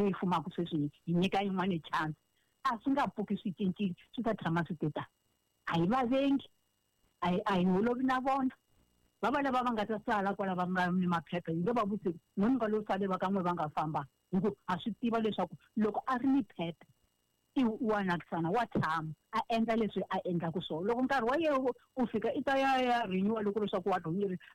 leyi fumaka sweswi hi nyika yin'wana chance, a swi nga pfuki swi cincile, swi ta tshama swi te tani. A hi va vengi, a hi holovi na vona. Va va lava va nga ta sala kwala va nga ni maphepha, hi nge va vutisi n'we mi nga lo sale va ka n'we va nga famba, hi ku ha swi tiva leswaku loko a ri ni phepha i wa nakisana, wa tshama a endla leswi a endlaku swona. Loko nkarhi wa yena wu fika, i ta ya renewa, loko leswaku wa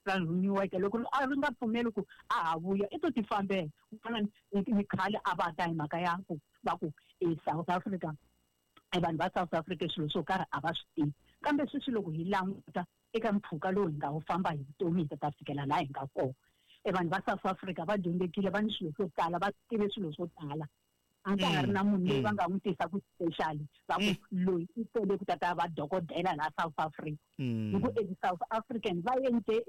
ra renew-eke. Loko a ri nga pfumeli ku a ha vuya, i to ti fambela. Ku fana ni khale a va ta hi mhaka ya ku va ku e South Africa, e vanhu va South Africa swilo swo karhi a va swi tivi. Kambe sweswi loko hi languta eka mpfhuka lowu hi nga wu famba hi vutomi, hi ta fikela laha hi nga kona, e vanhu va South Africa va dyondzekile, va ni swilo swo tala, va tive swilo swo tala. A ka ha ri na munhu loyi va nga n'wi tisa ku special va ku loyi i tele ku tata va dokodela laha South Africa, hi ku e South African va endle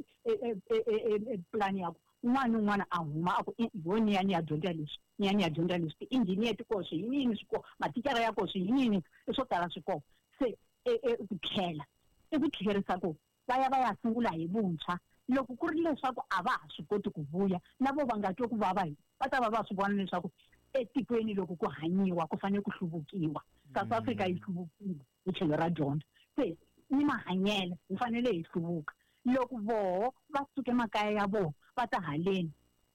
plan ya ku un'wana ni un'wana a huma a ku ho ni ya ni ya dyondza leswi, ni ya ni ya dyondza leswi. Ti-engineer ti koho, swiyiniyini swi koho, mathicara ya koho, swiyiniyini i swo tala swi koho. Se ku tlhela i ku tlherisa ku va ya va ya sungula hi vuntshwa. Loko ku ri leswaku a va ha swi koti ku vuya, na vo va nga twi ku vava, hi va ta va va swi vona leswaku etikweni loko ku hanyiwa ku fanele ku hluvukiwa. South Africa yi hluvukile hi tlhelo ra dyondzo, se ni mahanyelo hi fanele hi hluvuka. Loko voho va suke makaya ya vona va ta haleni,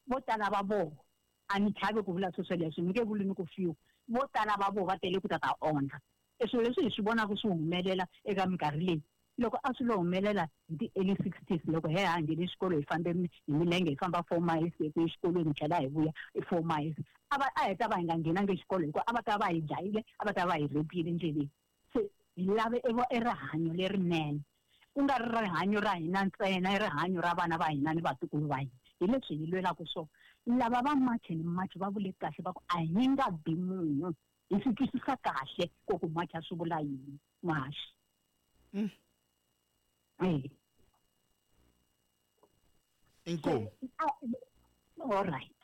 vo tala va voho, a ni chavi ku vula sweswo leswi, ni nge vuli ni ku fiwa, vo tala va voho va tele ku ta ta ondla. E swilo leswi hi swi vonaka swi humelela eka minkarhi leyi, loko a swi lo humelela hi ti-early 60s, loko he ha nghene xikolo, hi fambe hi milenge, hi famba 4 miles eku exikolweni, hi tlhela hi vuya i 4 miles, a va a hi ta va hi nga nghenangi xikolo, hikuva a va ta va hi dlayile, a va ta va hi rhepile endleleni. Se hi lave e rihanyo lerinene, ku nga ri rihanyo ra hina ntsena, i rihanyo ra vana va hina ni vatukulu va hina. Hi leswi hi lwelaka swona. Lava va March and March va vule kahle, va ku a hi nga bi munhu. Hi swi twisisa kahle ku ku macha swi vula yini, muhaxi. Inkomu. All right.